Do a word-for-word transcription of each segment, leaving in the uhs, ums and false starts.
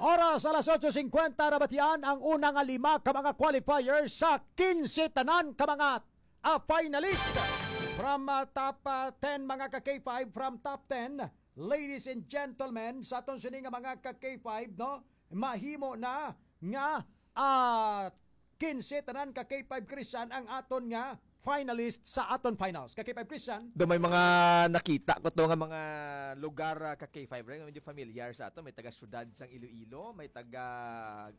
Oras, alas otso singkwenta, nabatian ang una nga lima ka mga qualifier sa quince tanan ka mga, ah, finalist. From, ah, top, ah, ten, mga ka K five, from top ten, ladies and gentlemen, sa aton sini nga mga ka K five, no, mahimo na nga, ah, quince tanan ka K five, Christian, ang aton nga finalist sa aton finals. Ka K five, Christian? Do may mga nakita ko to nga mga lugar, ah, ka K five, rin, medyo familiar sa ato. May taga syudad sang Iloilo, may taga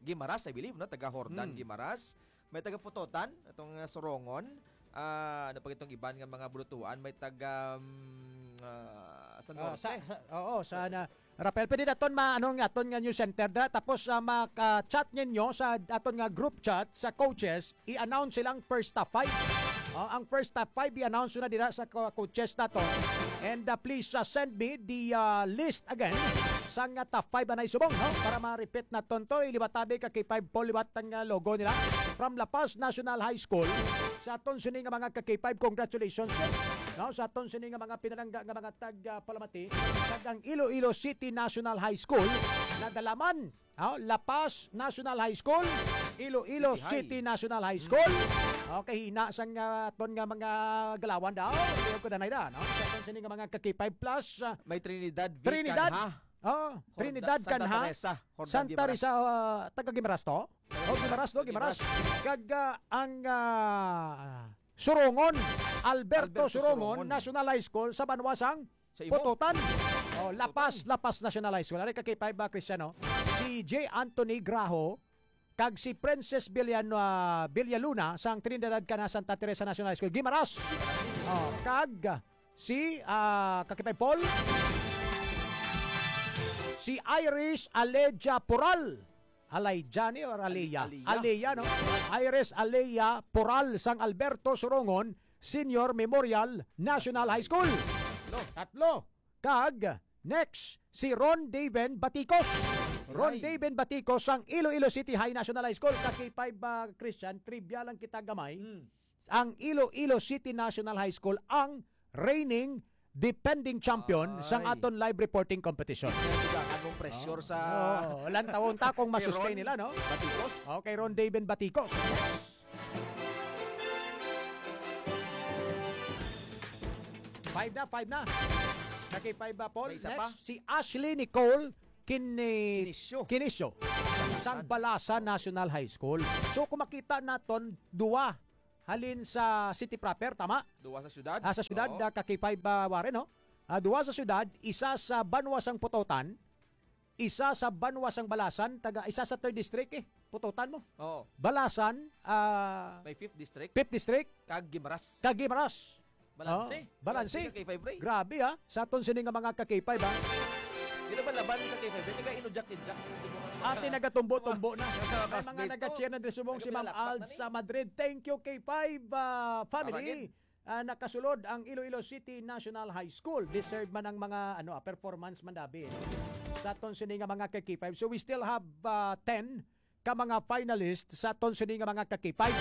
Guimaras, I believe, no? Taga Jordan, Hmm. Guimaras. May taga Pototan, atong, ah, Sorongon. Ah, ano pa itong iban nga mga bulutuan? May taga, mm, ah, sa Ah, Norte. sa, sa, oo, sa na, Rafael, pwede naton ma-, ano nga, aton nga news center dra. Tapos, ah, maka-chat ninyo sa aton nga group chat sa coaches, i-announce silang first top five. Oh, ang first top five i-announce na dira sa co-, coaches naton. And, ah, please, ah, send me the, ah, list again sa nga top five anay subong, no? Para ma-repeat naton to, iliwat tabi ka K five Paul, liwat ang, ah, logo nila. From La Paz National High School, sa aton sini nga mga ka K five, congratulations, no? Sa aton sini nga mga pinalangga nga mga tag, ah, palamati, kag ang Iloilo City National High School, nadalaman, oh, La Paz National High School, Iloilo City High. City National High School. Okay, hina sang, ah, aton nga mga galawan daw. Iyo ko danay da, no? Sa aton sini nga mga ka K five plus, ah, May Trinidad V Trinidad. Canha. Oh, Jordan, Trinidad Santa Canha. Teresa, Jordan Santa Guimaras. Teresa, ah, taga Guimaras to? Oh, Guimaras to, Guimaras. Guimaras. Kag, ah, ang, ah, Surongon, Alberto Alberto Surongon, Surongon. National High School sa banwa sang Sa imo? Pototan. Oh, La Paz, Pototan. La Paz National High School. Ari ka K five ba, Cristiano? Si J Anthony Graho, kag si Princess Villan-, ah, Villaluna sang Trinidad Canha Santa Teresa National High School, Guimaras. Oh, kag si, ah, ka K five Paul, si Iris Aleja Pural. Alejani or Aleja? Aleja. Aleja, no? Iris Aleja Pural sang Alberto Surongon Senior Memorial National High School. Tatlo. Tatlo. Kag next, si Ron Daven Baticos. Ron Ay. Daven Baticos sang Iloilo City High National High School. Ka K five, ah, Christian, trivia lang kita gamay. Mm. Ang Iloilo City National High School ang reigning defending champion Ay. sang aton live reporting competition. Ang pressure sa Oo, lantawon ta kung Kay masustain Ron nila, no? Baticos. Okay, Ron Daven Baticos. Five na, five na. Naki five ba, Paul? May isa pa. Next, si Ashley Nicole Kini-, Kinisyo. Kinisyo. Sang Balasan. Balasan National High School. So, kung makita naton, duwa halin sa city proper, tama? Duwa sa syudad? Ah, sa syudad, Oo. ah, ka K five, ah, Warren, no? Ah, duwa sa syudad, isa sa banwa sang Pototan, isa sa banwa sang Balasan, taga, isa sa third district, eh. Pototan mo. Oo. Balasan, ah, May fifth district. Fifth district. Kag Guimaras. Kag Guimaras. Balanse. Oh, balanse. Balanse ka K five, Ray. Grabe, ha? Sa aton sini nga mga ka K five, ha? Di na ba laban sa K five, Ray? Nag-inujak-injak. Ate, nagatumbo-tumbo na. May mga Classmate ko. nag-cheer na din subong si Ma'am Nagapinalakpak Alds na ni. sa Madrid. Thank you, K five, ah, family. Tama gid. Ah, nakasulod ang Iloilo City National High School. Deserve man ang mga, ano, ah, performance man, David. Sa aton sini nga mga ka K five. So, we still have, ah, ten ka mga finalist sa aton sini nga mga ka K five.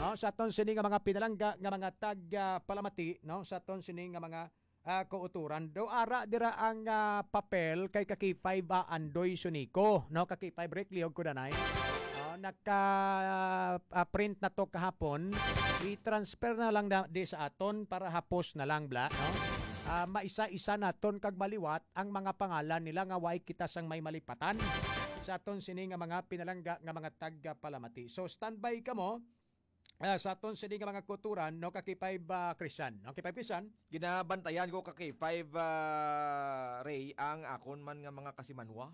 No? Sa aton sini nga mga pinalangga nga mga tag, ah, palamati, no? Sa aton sini nga mga, ah, kauturan. Do ara dira ang, ah, papel kay ka K five, ah, Andoy Sunico, no? Ka K five Rick Liog Kudanay. No? Naka, ah, print na to kahapon. I-transfer na lang na, di sa aton para hapos na lang, bla, no? Ah, maisa-isa naton kag maliwat ang mga pangalan nila nga way kita sang may malipatan sa aton sini nga mga pinalangga nga mga tagpalamati. So, standby kamo, ah, sa aton sini nga mga kuturan, no, ka K five, ah, Christian. No, ka K five Christian? Ginabantayan ko ka K five, ah, Ray, ang akon man nga mga kasimanwa.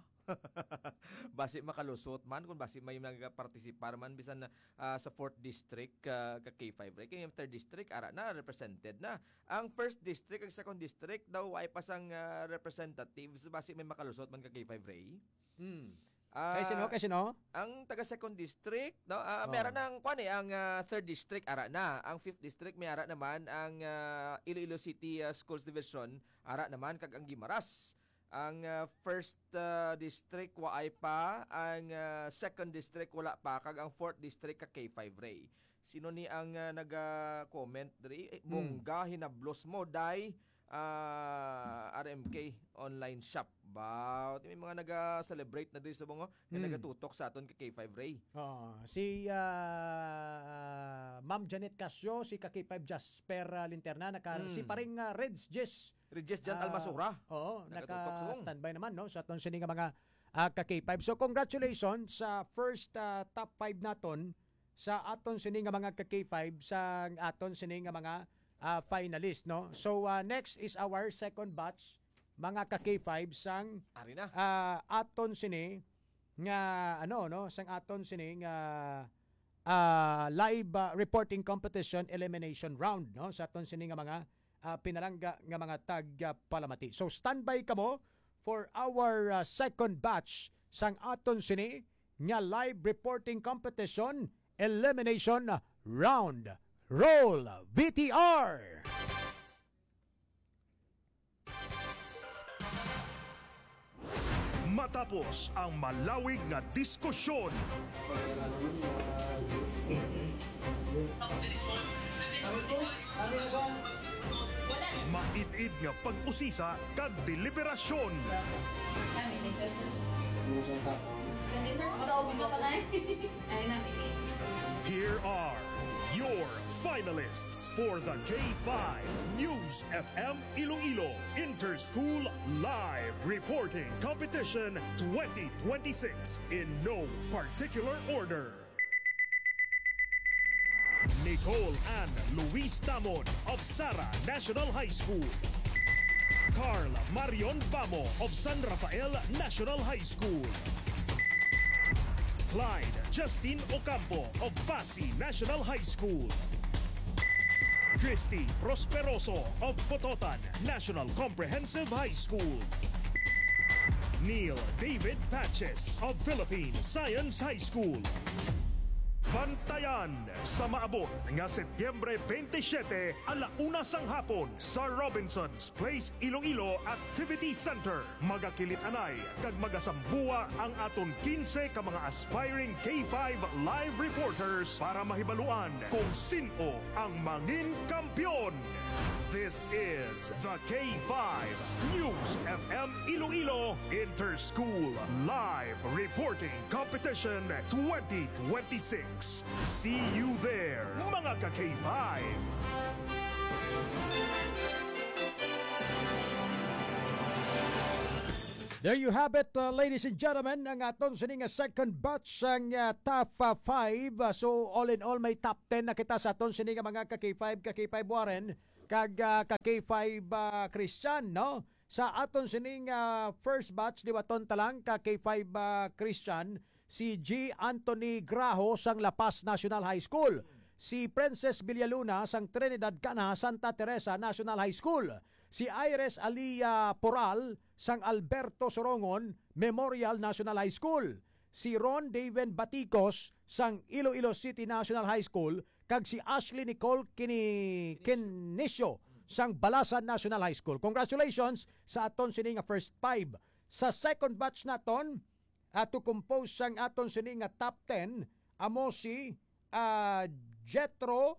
Basi makalusot man, kung basi may nagapartisipar man, bisan, ah, sa fourth district, ah, ka K five Ray. Kaya yung third district, ara na, represented na. Ang first district, ang second district, daw ay pa sang, ah, representatives, basi may makalusot man ka K five Ray. Hmm. Ah, Kay sino? Kay sino? Ang taga second district, no? Ah, Oh. may ara na ang, kwan eh, ang, ah, third district, ara na. Ang fifth district, may ara naman ang, ah, Iloilo City, ah, Schools Division, ara naman, kag ang Guimaras. Ang, ah, first, ah, district, waay pa. Ang, ah, second district, wala pa. Kag ang fourth district, ka K five Ray. Sino ni ang, ah, naga-comment diri? Eh, Hmm. Bongga, hinablos mo, day. ah, R M K online shop. Ba, may mga naga-celebrate na diri sa mga nga Hmm. nagatutok sa aton ka K five Ray. Oo. Si, ah, Ma'am Janet Casio, si ka K five Jasper, ah, Linterna, naka, Hmm. si paring, ah, Reds Jess. Reds Jess Jan Ah, Almasura. Oo, Nagatutok subong. naka-standby naman, no, sa aton sini nga mga, ah, ka K five. So, congratulations sa first, ah, top five naton sa aton sini nga mga ka K five, sa aton sini nga mga, ah, finalist, no? So, ah, next is our second batch, mga ka K five, sang, Ari na. ah, aton sini nga, ano, no, sang aton sini nga, ah, live, ah, reporting competition elimination round, no, sa aton sini nga mga, ah, pinalangga nga mga tag, ah, palamati. So, standby kamo for our, ah, second batch sang aton sini nga live reporting competition elimination round. Roll V T R! Matapos ang malawig nga diskusyon, mait-it nga pag-usisa kag deliberasyon. Kami ni siya, sir. Sunday, sir. Ay, namin eh. Here are your finalists for the K five News F M Iloilo Interschool Live Reporting Competition twenty twenty-six in no particular order. Nicole Ann Luis Tamon of Sara National High School. Carl Marion Bamo of San Rafael National High School. Clyde Justin Ocampo of Pasi National High School. Christy Prosperoso of Pototan National Comprehensive High School. Neil David Patches of Philippine Science High School. Bantayan sa maabot nga Setyembre twenty-seven, ala una sang hapon sa Robinson's Place Iloilo Activity Center. Magakilit-anay kag magasambuwa ang aton quince ka mga aspiring K five live reporters para mahibaluan kung sin-o ang mangin kampiyon. This is the K five News F M Iloilo Interschool Live Reporting Competition twenty twenty-six. See you there, mga ka-K five! There you have it, uh, ladies and gentlemen, ang aton sini nga second batch sang, uh, top, uh, five. Uh, so, all in all, may top ten na kita sa aton sini nga mga ka-K five, ka-K five Warren, kag, uh, ka-K five, uh, Christian, no? Sa aton sini nga first batch, liwaton ta lang, ka-K five, uh, Christian, si G Anthony Graho sang La Paz National High School, si Princess Villaluna sang Trinidad Cana Santa Teresa National High School, si Iris Alia Poral sang Alberto Sorongon Memorial National High School, si Ron Daven Baticos sang Iloilo City National High School, kag si Ashley Nicole Kini-, Kinisio sang Balasan National High School. Congratulations sa aton sini nga first five. Sa second batch naton, ah, to compose sang aton sini nga top ten, amo si, ah, Jethro,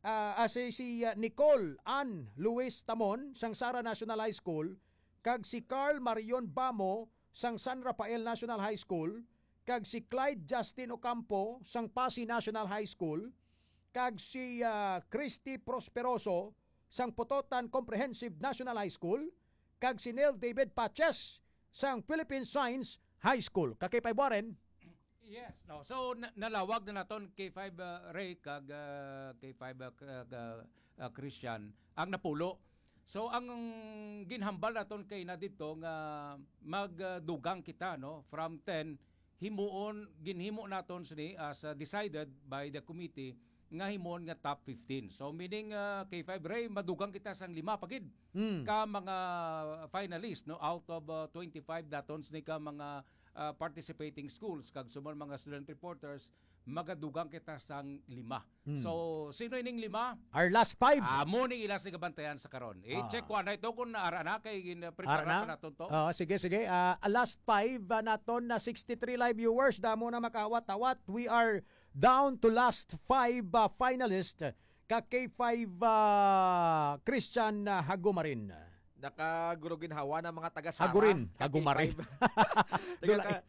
ah, ah, si, si, ah, Nicole Ann Luis Tamon sang Sara National High School, kag si Carl Marion Bamo sang San Rafael National High School, kag si Clyde Justin Ocampo sang Pasi National High School, kag si, ah, Christy Prosperoso sang Pototan Comprehensive National High School, kag si Neil David Paches sang Philippine Science High School. Ka-K five Warren? Yes, no. So, na-, nalawag na naton K five, uh, Ray kag, uh, K five, uh, k-, uh, uh, Christian ang napulo. So, ang ginhambal naton kay na dito nga magdugang kita, no, from ten, himuon, ginhimo naton sini as, uh, decided by the committee nga himuon nga top fifteen. So, meaning, uh, K five Ray, madugang kita sang lima pa gid Mm. ka mga finalist, no, out of, uh, twenty-five daton sini ka mga, uh, participating schools kag subong mga student reporters, magadugang kita sang lima. Mm. So, sino ining lima? Our last five. Amo ni ila sa gabantayan sa karon. I-check Ah. ko anay to kung ara na kay gin-, prepara Ara na? pa naton to. Oo, sige, sige. Ah, last five, ah, naton na sixty-three live viewers. Damo na makawat-awat. We are down to last five, ah, finalist. ka K five, ah, Christian, ah, Hagumarin. Nakagulo-ginhawa na mga taga Sara, Hagurin, ka Hagumarin. K five. Taga Dulay. ka-,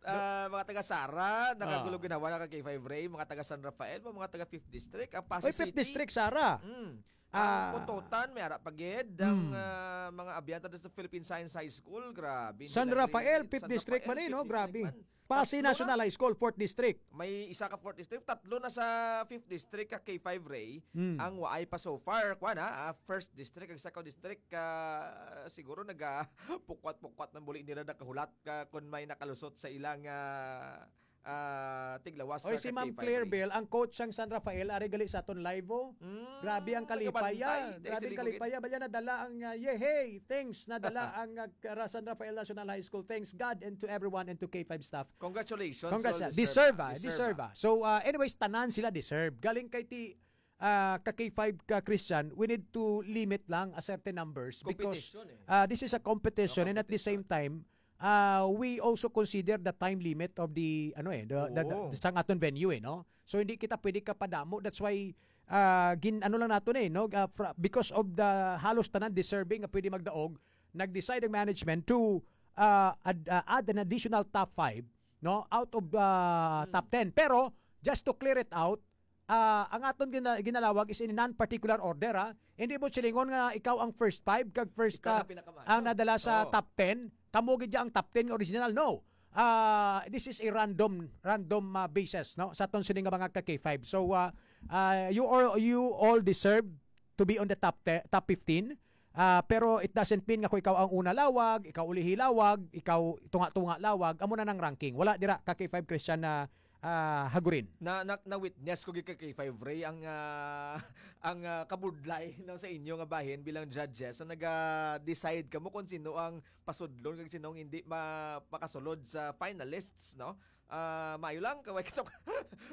ah, mga taga Sara, Ah. nakagulo-ginhawa na ka K five Ray, mga taga San Rafael, mga taga Fifth District, ang Passi Oy, Fifth City. District, Sara. Mm. Ang Ah. Pototan, may ara pa gid, ang, Mm. ah, mga abyanta sa Philippine Science High School, grabe, San nila Rafael, rin. Fifth San District Rafael, man eh, no? Fifth District Grabe. man. Passi Tatlo na. National High School, Fourth District. May isa ka Fourth District, tatlo na sa Fifth District ka K five Ray, Mm. ang waay pa so far, kuwan, ha? Ah, First District, ang Second District, ah, siguro naga pukwat-pukwat ng buli nila nakahulat ka kung may nakalusot sa ilang, ah, ah, tiglawas Oy, sa si Ma'am K five Ray. Claire Bell, ang coach sang San Rafael, ari gali sa aton live, oh. Mm, Grabe ang kalipaya. nagabantay, Grabe ang Tex Ligugit. kalipaya. Bali nadala ang, ah, yehey, thanks. Nadala ang, ah, Ra-, San Rafael National High School. Thanks God and to everyone and to K five staff. Congratulations, Congrats, well ah. deserved, Deserve, ah. ah. Deserve, Deserve, ah. ah. So, ah, anyways, tanan sila deserve. Galing kay ti, ah, ka K five ka Christian, we need to limit lang a certain numbers because, Competition, eh. ah, this is a competition and at the Competition. same time, ah, we also consider the time limit of the, ano eh, the, the, the, Oo. sang aton venue eh, no? So, hindi kita pwede kapadamo. That's why, ah, gin-, ano lang naton eh, no? Ah, fra-, because of the halos tanan deserving nga pwede magdaog, nag-decide ang management to, ah, add, ah, add an additional top five, no? Out of, ah, Hmm. top ten. Pero, just to clear it out, ah, ang aton gina-, ginalawag is in non-particular order, ha? Hindi mo silingon nga ikaw ang first five, kag first, Ikaw ah, na pinakamaayo. ang nadala sa Oo. top ten, kamo gid ang top ten nga original. No. Ah, this is a random, random, ah, basis, no? Sa aton sini nga mga ka K five. So, ah, ah, you all, you all deserve to be on the top ten, top fifteen. Ah, pero it doesn't mean nga kung ikaw ang una lawag, ikaw ulihi lawag, ikaw tunga-tunga lawag, amo na nang ranking. Wala dira ka K five Christian na, ah, Hagurin. Na, na, na-witness ko gid ka K five Ray ang, ah, ang, ah, kabudlay, no, sa inyo nga bahin bilang judges. So, naga-decide kamo kung sino ang pasudlon kag sino ang hindi ma-, makasulod sa finalists, no? Ah, maayo lang, kaway kita,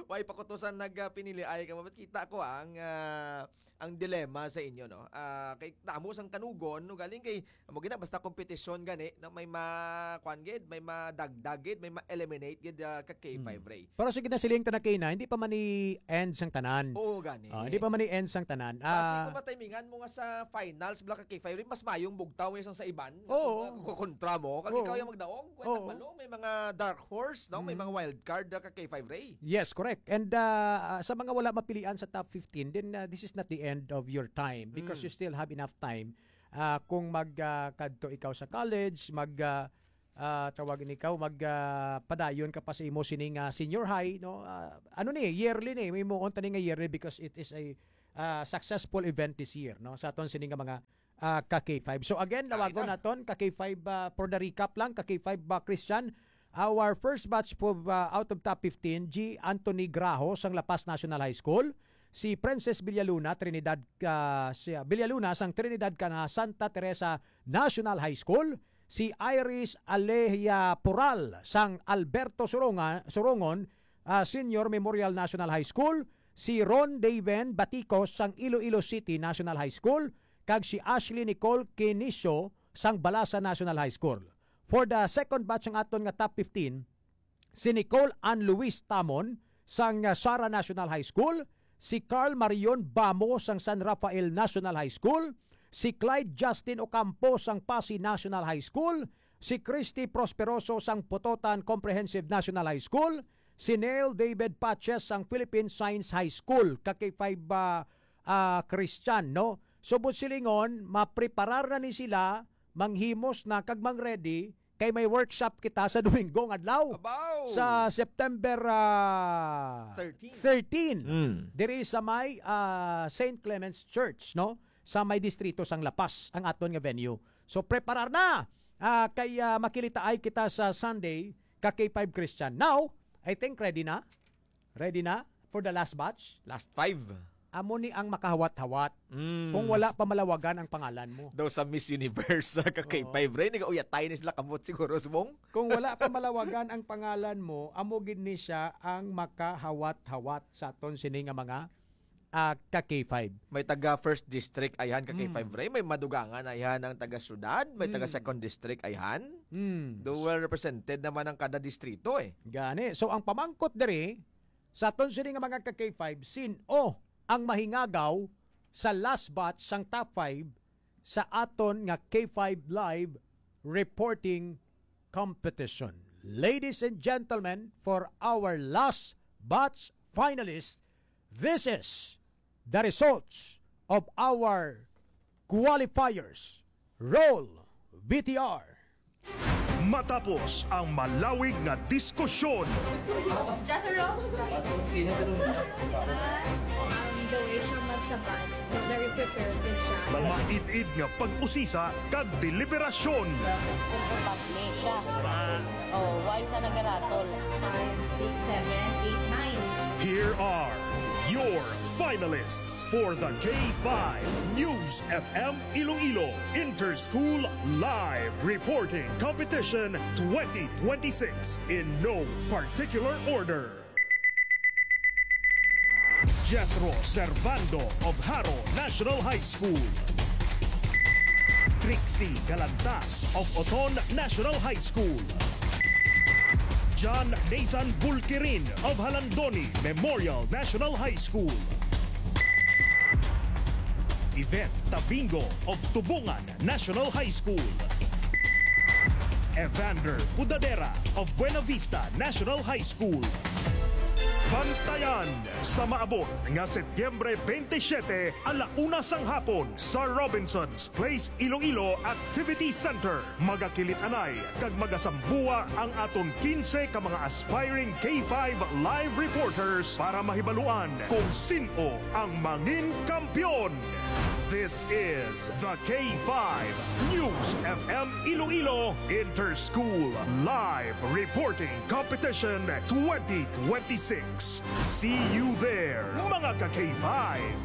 way pa ko to sa nagpinili ay ka, kita ko ang, ah, ang dilemma sa inyo, no? Ah, kay damo sang kanugon, no? Galing kay, amo gina, basta kompetisyon gani, no? May ma-, kwan gid, may madagdag gid, may ma-eliminate gid, ah, ka K five Hmm. Ray. Pero sige na, siling ta na kay na, hindi pa man ni end sang tanan. Oo, gani. Ah, hindi pa man ni end sang tanan. Basi Ah. kung matimingan mo nga sa finals, bala ka K five Ray, mas mayong bugtaw nga isang sa iban. Oo. Kung kontra mo, kag Oo. ikaw yung magdaog, kwenta Oo. pa, no? May mga dark horse, no? May Mm. mga wild card, ah, ka K five Ray. Yes, correct. And, ah, sa mga wala mapilian sa top fifteen, then, ah, this is not the end of your time because Mm. you still have enough time. Ah, kung mag, ah, kadto ikaw sa college, mag, ah, ah, tawag ni ikaw, mag, ah, padayon ka pa sa imo sining, ah, senior high, no? Ah, ano ni, yearly ni, may muon tani nga yearly because it is a, ah, successful event this year, no? Sa aton sini nga mga, ah, ka K five. So again, Ay, lawagon na. naton ka K five, ah, for the recap lang, ka K five, ah, Christian. Our first batch po, ah, out of top fifteen, G Anthony Graho sang La Paz National High School, si Princess Villaluna, Trinidad, ah, si, ah, Villaluna sang Trinidad kana Santa Teresa National High School, si Iris Alejia Pural sang Alberto Suronga-, Surongon, ah, Senior Memorial National High School, si Ron Daven Baticos sang Iloilo City National High School, kag si Ashley Nicole Quinicio sang Balasa National High School. For the second batch ang aton nga top fifteen, si Nicole Ann Luis Tamon sang, ah, Sara National High School, si Carl Marion Bamo sang San Rafael National High School, si Clyde Justin Ocampo sang Passi National High School, si Christy Prosperoso sang Pototan Comprehensive National High School, si Neil David Paches sang Philippine Science High School, ka K five, ah, ah, Christian, no? So, buot silingon, mapreparar na ni sila, manghimos na, kag mang-ready, kay may workshop kita sa Domingo nga adlaw. Abaw! Sa September, ah, Thirteen. thirteen. Mm. Diri sa may, ah, Saint Clement's Church, no? Sa may distrito sang La Paz, ang aton nga venue. So, preparar na! Ah, kay, ah, makilitaay kita sa Sunday, ka K five Christian. Now, I think ready na. Ready na for the last batch? Last five. Amo ni ang makahawat-hawat. Mm. Kung wala pa malawagan ang pangalan mo. Daw sa Miss Universe, sa ka K five, Oo. Ray, nag-uyatay ni sila kamot siguro, subong? Kung wala pa malawagan ang pangalan mo, amo gid ni siya ang makahawat-hawat sa aton sini nga mga, ah, ka K five. May taga First District, ayhan, ka K five, Mm. Ray. May madugangan, ayhan, ang taga Syudad. May taga Mm. Second District, ayhan. Mm. Do well represented naman ang kada distrito, eh. Gani. So, ang pamangkot diri, sa aton sini nga mga ka K five, sin-o ang mahingagaw sa last batch sang top five sa aton nga K five Live Reporting Competition. Ladies and gentlemen, for our last batch finalists, this is the results of our qualifiers. Roll V T R. Matapos ang malawig nga diskusyon, Jazero? Ang the way siya magsabad, very prepared din siya. Maid-id nga pag-usisa kag deliberasyon. Siya. Oh, why siya nagaratol? Five, six, seven, eight, nine. Here are your finalists for the K five News F M Iloilo Interschool Live Reporting Competition twenty twenty-six in no particular order. Jethro Servando of Jaro National High School. Trixie Galantas of Oton National High School. John Nathan Bulkirin of Jalandoni Memorial National High School. Yvette Tabingo of Tubungan National High School. Evander Pudadera of Buena Vista National High School. Bantayan sa maabot nga Setyembre twenty-seven, ala una sang hapon sa Robinson's Place Iloilo Activity Center. Magakilit anay kag magasambuwa ang aton quince ka mga aspiring K five live reporters para mahibaluan kung sin-o ang mangin kampiyon. This is the K five News F M Iloilo Interschool Live Reporting Competition twenty twenty-six. See you there, mga ka K five!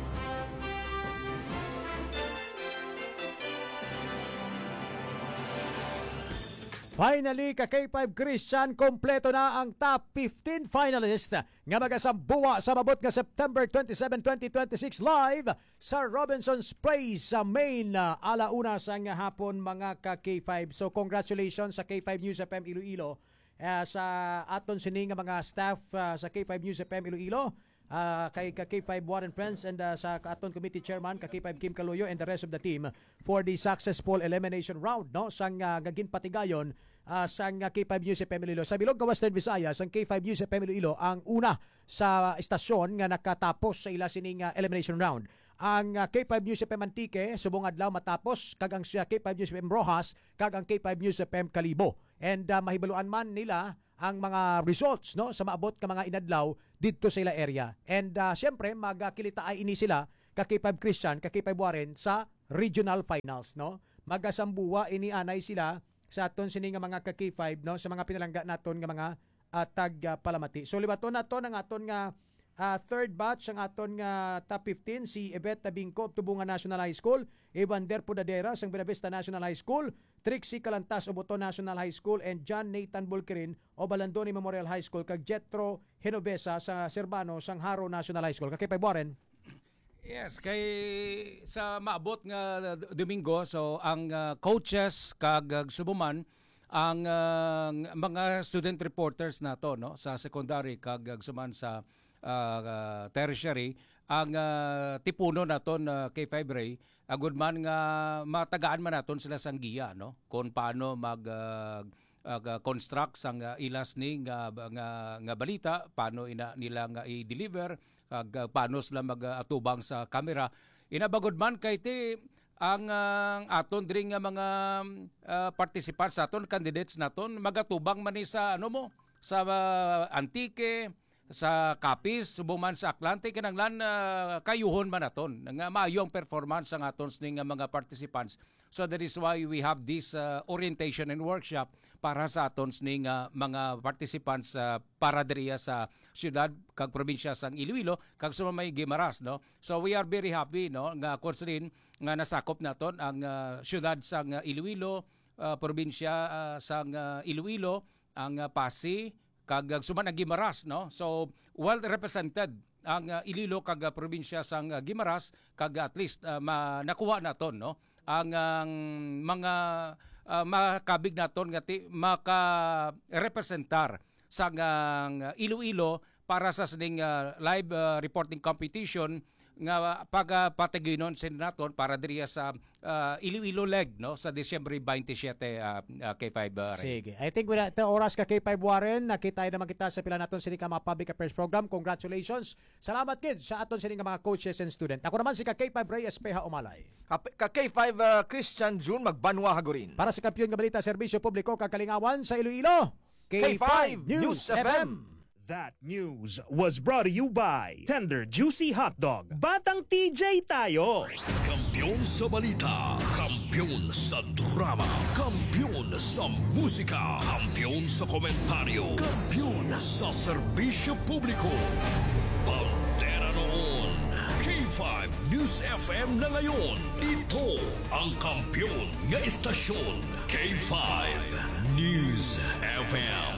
Finally, ka K five Christian, kompleto na ang top fifteen finalist nga magasambuwa sa maabot nga September twenty-seven, twenty twenty-six, live sa Robinson's Place sa main, ah, ala una sang hapon, mga ka K five. So, congratulations sa K five News F M Iloilo, ah, sa aton sini nga mga staff, ah, sa K five News F M Iloilo, ah, kay ka K five Warren Friends, and, ah, sa aton committee chairman, ka K five Kim Caloyo, and the rest of the team for the successful elimination round, no, sang, ah, nga ginpatigayon, ah, sang, ah, K five News F M Iloilo. Sa bilog ka Western Visayas, ang K five News F M Iloilo ang una sa istasyon nga nakatapos sa ila sining, ah, elimination round. Ang, ah, K five News F M Antique, subong adlaw matapos, kag ang siya K five News F M Roxas, kag ang K five News F M Kalibo. And, ah, mahibaluan man nila ang mga results, no, sa maabot nga mga inadlaw didto sa ila area. And, ah, siyempre, magkilitaay ini sila, ka K five Christian, ka K five Warren, sa regional finals, no? Magasambuwa ini anay sila sa aton sini nga mga ka K five, no, sa mga pinalangga naton nga mga, ah, tag, ah, palamati. So, liwaton naton ang aton nga, ah, third batch, ang aton nga top fifteen, si Yvette Tabingco of Tubungan National High School, Evander Pudadera sang Buena Vista National High School, Trixie Calantas of Oton National High School, and John Nathan Bulkirin of Jalandoni Memorial High School, kag Jethro Genovesa sa Serbano sang Jaro National High School. Ka K five Warren. Yes, kay sa maabot nga Domingo, so ang, ah, coaches kag, ah, subuman ang, ah, mga student reporters nato, no, sa secondary kag, ah, suman sa, ah, tertiary, ang, ah, tipuno naton, ah, K five Ray, agud man nga matagaan man naton sila sang giya, no, kung paano mag, ah, ah, ga-, construct sang, ah, ilas ni nga, nga, nga balita, paano ina nila nga i-deliver, kag, ah, paano sila mag, ah, atubang sa camera. Ina bagod man kay ti ang, ah, ang aton diri nga mga, ah, participants naton, candidates naton, magatubang man ni sa, ano mo, sa, ah, Antique, sa Capiz, subong man sa Aklan, ti kinahanglan, ah, kayuhon man naton nga maayo ang performance sang aton sini nga mga participants. So that is why we have this, ah, orientation and workshop para sa aton sini nga mga participants, ah, para diriya sa siyudad kag probinsya sang Iloilo kag sa may Guimaras, no? So we are very happy, no, nga kung sinin nga nasakop naton ang, ah, siyudad sang, ah, Iloilo, ah, probinsya, ah, sang, ah, Iloilo, ang, ah, Pasi, kag, ah, suman ang Guimaras, no? So, well represented ang, ah, Iloilo kag, ah, probinsya sang, ah, Guimaras, kag at least, ah, ma-, nakuha naton, no? Ang, ang mga, ah, makabig naton nga ti-, makarepresentar sang, ah, Iloilo para sa sining, ah, live, ah, reporting competition nga pagapatiginon sa naton para diriya sa, ah, Iloilo leg, no, sa Disyembre twenty-seven, ah, ah, K five, ah, Ray. Sige. I think wala ta oras ka, K five Warren. Nakita naman kita sa pila naton sini ka mga public affairs program. Congratulations. Salamat gid sa aton sini nga mga coaches and student. Ako naman si ka K five Ray Espeha Umalay. Ka, ka K five, ah, Christian June Magbanwa Hagurin. Para sa Kampiyon nga Balita, Serbisyo Publiko kag Kalingawan sa Iloilo, K five News F M. That news was brought to you by Tender Juicy Hotdog. Batang T J tayo! Kampiyon sa balita, kampiyon sa drama, kampiyon sa musika, kampiyon sa komentaryo, kampiyon sa serbisyo publiko. Bandera noon, K five News F M na ngayon. Ito ang kampiyon nga estasyon, K five News F M.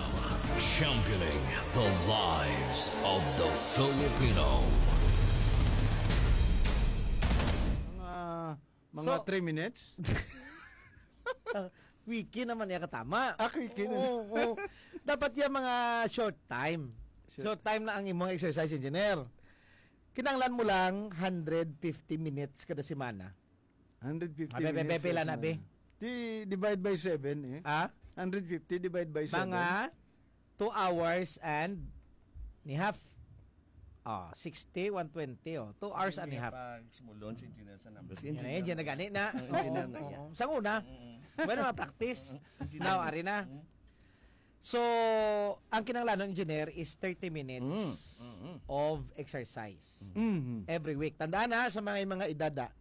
Championing the lives of the Filipino. Mga, mga So, three minutes? Ah, quickie naman niya katama. Ah, quickie na. Oo, oo. Dapat yung mga short time. Short. Short time na ang imong exercise, engineer. Kinahanglan mo lang hundred fifty minutes kada semana. Hundred fifty Abi, abi, minutes abi, pila sa na, semana. Bi? Di, divide by seven, eh. Ha? Hundred fifty divide by seven. Mga two hours and ni half. Oh, sixty, one twenty, oh. Two hours and a half. Hindi pa sumulon si engineer sa numbers. Yan, engineer yan, na gani na. Ang engineer na Oo, yan. Oo. Sa una, Mm. Bueno, ma-practice. Engineer. Now, ari na. Mm. So, ang kinahanglan ng engineer is thirty minutes Mm. Mm-mm. of exercise Mm-hmm. every week. Tandaan na, sa mga, mga edad, ah,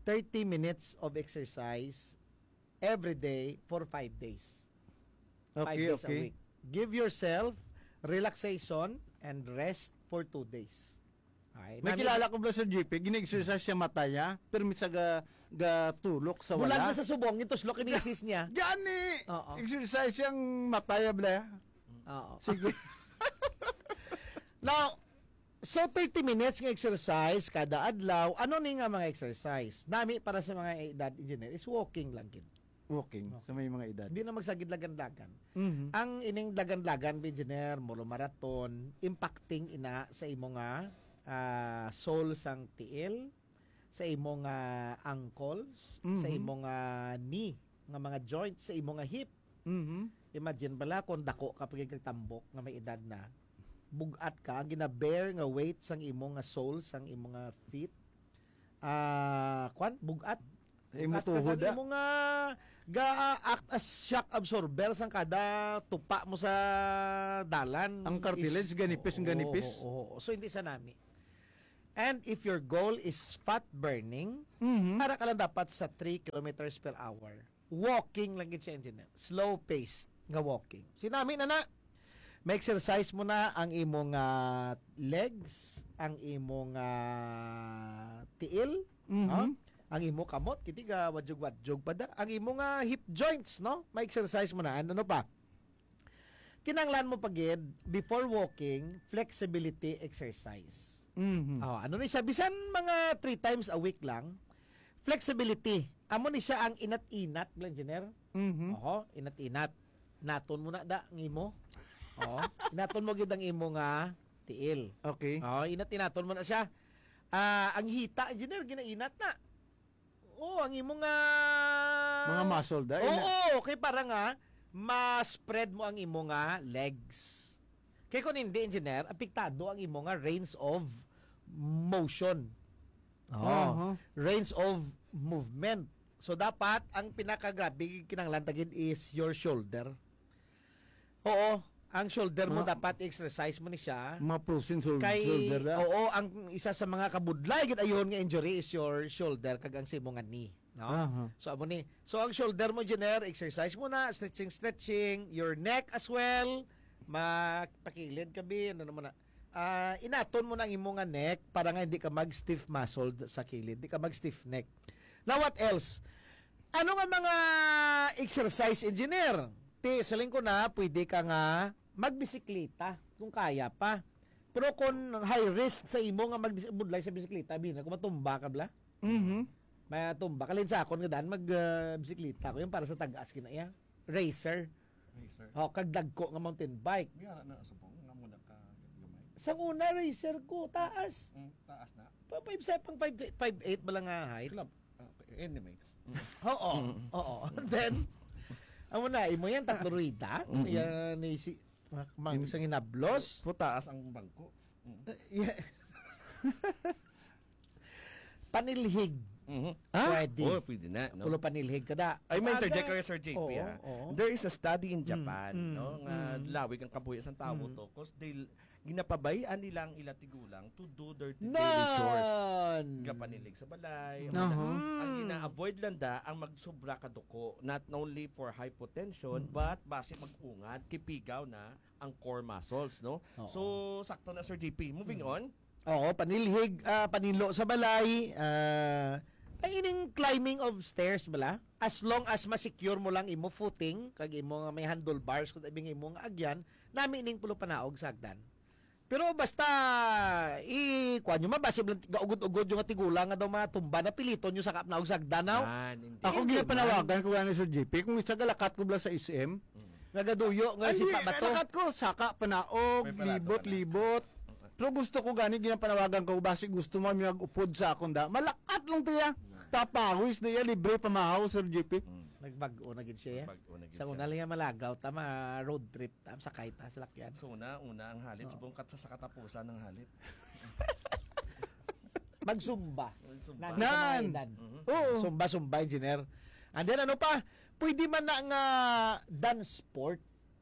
thirty minutes of exercise every day for five days. Five Okay, days a okay. week. Give yourself relaxation and rest for two days. Ay, May nami- kilala ko ba sa G P, gina-exercise siya mataya, pero misa ga, ga tulok sa Bulag wala. Na sa subong, yung tuslok yung misis niya. Gani! Oo. Exercise siyang mataya, bla. Oo. Sige. Now, so thirty minutes nga exercise kada adlaw. Ano ni nga mga exercise? Nami para sa mga edad, engineer, is walking lang gid. Walking No. sa may mga edad. Hindi na magsagid lagan-lagan. Mhm. Ang ining lagan-lagan, engineer, muro marathon, impacting ina sa imo nga, ah, sole sang tiil, sa imo nga ankles, sa Mhm. imo nga knee, nga mga joints, sa imo nga hip. Mhm. Imagine bala kung dako ka pa gyud kag tambok nga may edad na, bug-at ka, ang gina-bear nga weight sang imo nga sole, sang imo nga feet, ah, kwan, bug-at. Sa imo Bug-at ka tuhod, sang ah. imo nga ga-act as shock absorber sang kada tupa mo sa dalan. Ang cartilage, Is ganipis, Oo, ganipis. oo, oo. So, hindi sa nami. And if your goal is fat burning, Mhm. para ka lang dapat sa three kilometers per hour. Walking lang gid siya, engineer. Slow pace nga walking. Sinami na na. May exercise mo na ang imong, ah, legs, ang imong, ah, tiil, Mhm. ha? Ang imo kamot, kiti ga wadyog-wadyog pa da. Ang imo nga hip joints, no? May exercise mo na. Ano, ano pa? Kinahanglan mo pa gid, before walking, flexibility exercise. Mhm. Oh, ano ni siya? Bisan mga three times a week lang, flexibility. Amo ni siya ang inat-inat, Bla Engineer. Mhm. Oho, inat-inat. Naton mo na da, ang imo. Oh, inaton mo gid ang imo nga tiil. Okay. Oh, inat-inaton mo na siya. Ah, ang hita, Engineer, ginainat na. Oh, ang imo nga Mga muscle, da, Oo, ina- okay, para nga ma-spread mo ang imo nga legs. Kay kung hindi, engineer, apektado ang imo nga range of motion. Oh, Aha. Range of movement. So, dapat ang pinakagrabe kinahanglan ta gid is your shoulder. Oo, ang shoulder mo Ma- dapat exercise mo ni siya. Mga frozen shou-, Kay, shoulder da. Oo, ang isa sa mga kabudlay gid ayuhon nga injury is your shoulder kag ang sa imo nga knee, no? Aha. So, amo ni. So, ang shoulder mo, Jenner, exercise mo na, stretching, stretching, your neck as well. Magpakilid ka, bi, ano naman na. Ah, inaton mo na ang imo nga neck para nga hindi ka mag-stiff muscle sa kilid, hindi ka mag-stiff neck. Now, what else? Ano nga mga exercise, engineer? Ti, siling ko na, pwede ka nga magbisikleta kung kaya pa. Pero kung high risk sa imo nga magbudlay sa bisikleta, bina, kung matumba ka bla? Mhm. Matumba ka. Linsa akon nga daan mag, ah, bisikleta ko yung para sa tagas kinaya. Racer. Racer. Oh, kag dagko nga mountain bike. Biya na sa pong, nga muna ka gamay. Sang una, racer ko, taas. Mm, taas na. Pa five seven, five, five eight ba lang nga height? Club. Ah, okay. Anyway. Mm. Oo, Mm. oo. Then, amo na, imo yan, tatlo rueda. Mm-mm. Yan, ni si, ma-, ma-, In-, isang hinablos. Putaas ang bangko. Mm. Uh, yeah. Panilhig. Mhm. Ha? Pwede. Oh, pwede na, no? Pulo panilhig ka da. Ay, may interject Aga- ko kay Sir J P, Oo, ha? oo. There is a study in Mm, Japan, mm, no, nga mm. lawig ang kabuhi sang tawo Mm. to, 'cause they, ginapabay-an nila ang ila tigulang to do their daily chores. Nan! Gapanilhig sa balay, ang Aha. mga, ang Mm. ina-avoid lang da ang magsubra ka duko, not only for hypotension, Mm. but basi mag-ungad, kipigaw na ang core muscles, no? Oo. So, sakto na, Sir J P. Moving Mm. on. Oo, panilhig, ah, paninlo sa balay, ah, ay ining climbing of stairs bala. As long as ma-secure mo lang imo footing, kag imo nga may handlebars, kung tabi nga imo nga agyan, nami ning pulo panaog sa hagdan. Pero basta, i-, kuwan nyo, mabasib lang, gaugod-ugod yung nga tigulang nga daw matumba, na piliton nyo sa kapanaog sa hagdan, naw? Ah, hindi. Ako Hindi, ginapanawagan man. ko gani, Sir J P, kung isa galakat ko bala sa S M, Mm. Nagaduyo nga Ay, si di, Papa to. Lakat ko, saka, panaog, May palato libot, ka na. libot. Pero gusto ko gani, ginapanawagan ko, basi gusto mo mag-upod sa akon da. Malakat lang to ya. Papawis na ya, libre pamahaw, Sir J P. Mm. Nagbag-o na gid siya, ya. Nagbag-o na gid Sa siya. una lang ya, malagaw, tama, road trip, tam, sakay ta, salakyan. So, una, una, ang halit, Oo. subong kat sa, sa katapusan ng halit. Magsumba. Magsumba. Nandito sa mga Nan! edad. Mhm. Oo. Sumba, sumba, engineer. And then, ano pa? Pwede man na nga dance sport.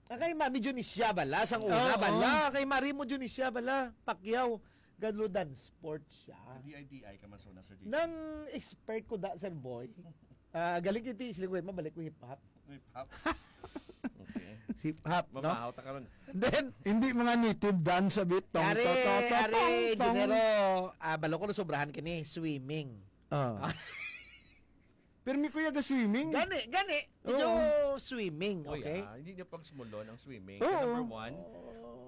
Ah, kay Mami Dionisia bala, sang una Oo. bala. Kay Mari mo Dionisia bala, Pacquiao. Ganlo dance sport siya. D I D I ka man sa una, Sir J P. Nang expert ko da, Sir Boy. Ah, galing yung tiis, lingway, mabalik ko hip-hop. Hip-hop. Okay. Hip-hop, no? Mamahaw ta karon. And then, Hindi mga native dance a bit. Tong, Ari, to, to, to, ari, tong, tong. Engineero, ah, balo ko na sobrahan kini, swimming. Ah. Pero may kuya ga swimming. Gani, gani. Medyo Oo. swimming, Oy, okay? ah, hindi niya pagsumulon ang swimming. Oo. Number one,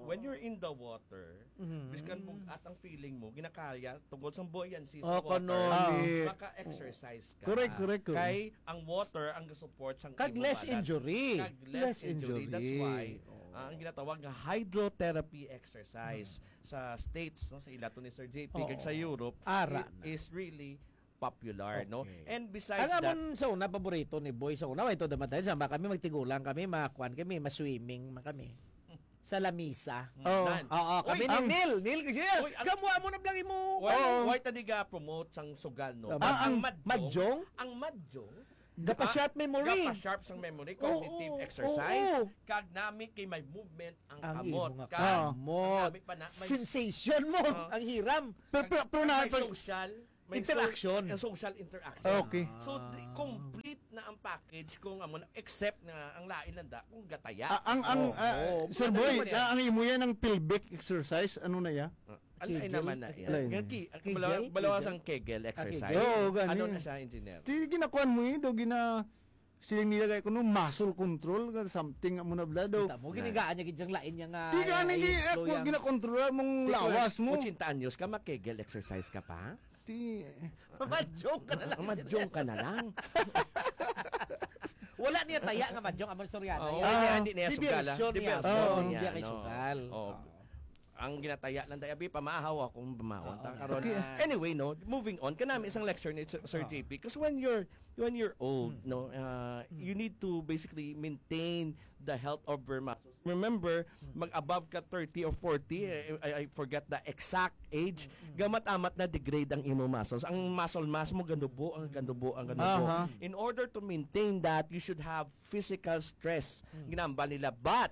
when you're in the water, Mhm. biskan bug-at ang feeling mo, ginakaya, tungod sa buoyancy sa Oh, water, kanali. Ah. maka-exercise ka. Correct, correct, correct. Kay ang water ang ga-support sang Kag imo less balance. injury. Kag less Less injury. That's injury. why, Oo. ah, ang ginatawag nga hydrotherapy exercise Mhm. sa States, no, sa ilato ni Sir J P, Oo. kag sa Europe, Ara it na. is really popular, no? Okay. And besides Ang that, amon sa una, paborito ni Boy sa una, ito naman tayo, sama kami, magtigulang kami, makuan kami, maswimming man kami. Sa lamisa. Mm, Oo. nan. Oo, kami Uy, ni ang Neil. Neil, kasi Uy, ang Kamuha mo na vlog mo. Why, Oo. why ta di ga promote sang sugal, no? Tama. Ang, ang Ang madjong, madjong? ang madjong, Gapa-sharp ah, memory. gapa-sharp sang memory, Oo, cognitive oo, exercise, oo. kag nami kay may movement ang Ang kamot. imo nga Kag kamot. ang nami pa na, may Sensation mo, Oo. ang hiram. Pero, pero, pero Kag na, may pag social, may Interaction. so-, social interaction. Okay. So, Ah. di-, complete na ang package kung amo na, except na ang lain lang da, kung gataya. Ah, ang, ang, Oo. ah, Oo. Sir Ano Boy, naman yan? ah, ang imo yan ang pelvic exercise, ano na ya? Ah, alay Kegel? naman na yan. Alay. Nga ki-, ang Kegel? balawa-, balawa Kegel? sang Kegel Ah, exercise. Kegel. Oo, gani. Ano na siya, engineer? Di ginakuan mo eh, daw gina-, siling nila kay kuno muscle control, ka something amo na bla daw. Kita mo, Na. ginigaan niya gid yang lain niya nga Di gani, ay, di, eh, slow kung yang ginakontrola mong Di ko, lawas mo. Ochenta anyos ka, mag-Kegel exercise ka pa? Ti- Madyong ka na lang. Madyong ka na lang. Wala niya taya nga madyong, amang istorya na Oo, yan. hindi, hindi niya sugal, ah. Diversion niya. Diversion Oo. niya, Hindi kay no? sugal. Oo. Oo. Ang ginataya lang tayo, abi, pamahaw akong pamahaw. Oo, Ta, karon. okay. Anyway, no, moving on, kanami isang lecture ni Sir, Sir Oo. J P, 'cause when you're, when you're old, Hmm. no, uh, Hmm. you need to basically maintain the health of your muscles. Remember, Hmm. mag-above ka thirty or forty, Hmm. eh, I, I forget the exact age, Hmm. gamat-amat na degrade ang imo muscles. Ang muscle mass mo, ganubo, ang ganubo, ang ganubo. Aha. In order to maintain that, you should have physical stress. Hmm. Ginambal nila. But,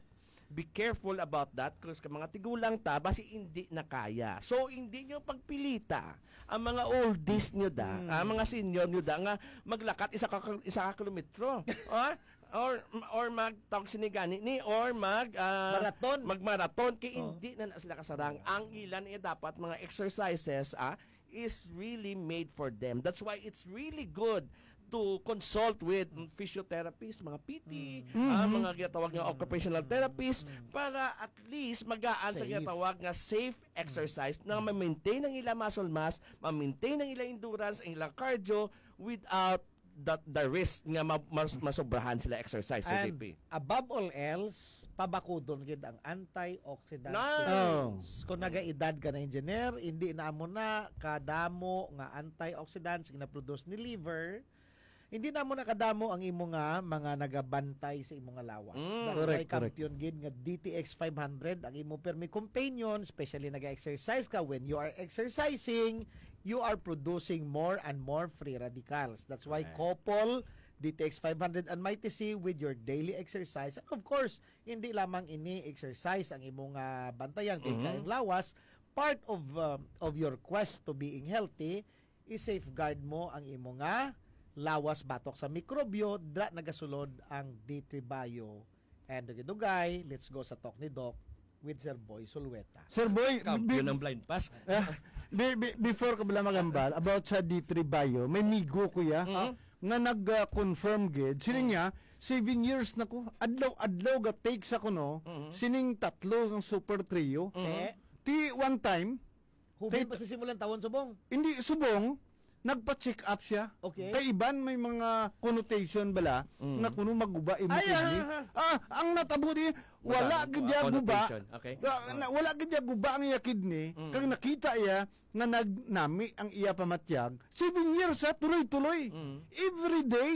be careful about that, 'cause ka mga tigulang ta, basi hindi na kaya. So, hindi nyo pagpilita ang mga oldies nyo da, Hmm. ang mga senior nyo da, nga maglakat isa ka, isa ka kilometro. Ah? Or, or magtawag sini gani ni, or mag, ah, Marathon. magmarathon, kay Oh. hindi na, na sila kasarang. Ang ilan niya dapat mga exercises, ah, is really made for them. That's why it's really good to consult with, mm, physiotherapists, mga P T, Mm. ah, Mm-hmm. mga ginatawag nga Mm. occupational therapist, Mm. para at least magaan sa Safe. ginatawag nga safe Mm. exercise na Mm. ma-maintain ang ilang muscle mass, ma-maintain ang ilang endurance, ang ilang cardio without the, the risk nga ma-, mas, masobrahan sila exercise, And C D P. Above all else, pabakudon gid ang antioxidant. Nice. Oh. Kung nagaedad ka na, engineer, hindi na mo na kadamo nga antioxidants nga na-produce ni liver, hindi na mo na kadamo ang imo nga mga nagabantay sa imo nga lawas. Mm. That's Correct, why correct. Champion gid nga D T X five hundred ang imo permi companion, especially nag-exercise ka. When you are exercising, you are producing more and more free radicals. That's why Correct. couple D T X five hundred and Mighty C with your daily exercise. And of course, hindi lamang ini exercise ang imo nga bantayan kay Mhm. kaayong lawas, part of uh, of your quest to being healthy, i-safeguard mo ang imo nga lawas batok sa mikrobyo, dra nagasulod ang D three Bio. And dugay-dugay, let's go sa talk ni Doc with Sir Boy Sulweta. Sir Boy, Kampiyon bi- ng blind pass. Ah, bi- bi- before ka pala magambal about sa D three Bio, may migo ko ya Mhm. nga nag-confirm gid. Sila niya, seven years na ko. Adlaw-adlaw ga take sa kuno, Mhm. sining tatlo ng Super Trio. Mhm. Eh, Ti one time, hubin Kay- pa sa simulang tawon subong. Hindi subong, nagpa-check up siya. Okay. Kay iban may mga connotation bala Mm. nga kuno maguba imo Ay, kidney. ah, Ah, ang natabo di wala Madami gid po iya ang guba. connotation. Okay. Ah, na, wala gid iya guba ang iya kidney. Mm. Kag nakita iya nga nagnami ang iya pamatyag. Seven years ha, tuloy-tuloy. Mm. Every day,